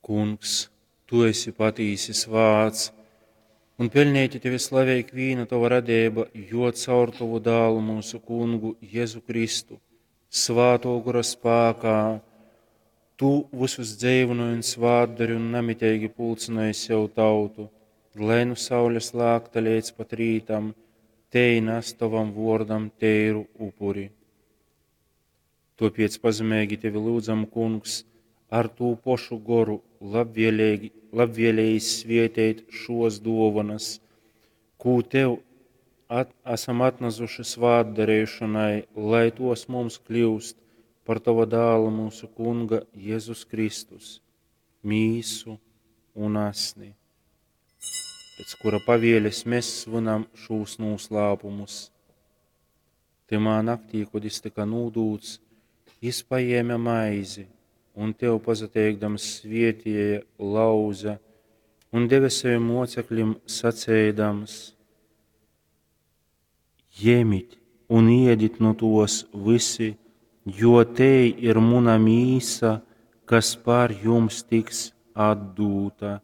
Kungs, tu esi patīsi svāts, un peļneiti tevi slavej ikvīna tova radeiba, jo caur tovu Dālu myusu Kungu Jezu Kristu, Svātō Gora spākā, tu vysus dzeivynoj un svātdori un namiteigi pulcynoj sev tautu, lai nu saules lākta leidz pat rītam tei nas tovam vōrdam teiru upuri. Tōpēc pazemeigi tevi lyudzam, Kungs, ar tū pošu Goru labvēleigi, labvēlējis svēteit šōs dōvonas, kū tev at, asam atnasuši svātdareišonai, lai tos mums kļyust par tova dāla myusu Kunga Jezus Kristus mīsu un asni, pēc kura pavēles mēs svinam šūs noslēpumus. Tymā naktī, kod jis tyka nūdūts, jis pajēme maizi un tev pasateikdams svietēja, lauza un deve savim mocekļim saceidams: Jemit un iedit nu tos visi, jo tei ir muna mīsa, kas par jums tiks atdūta.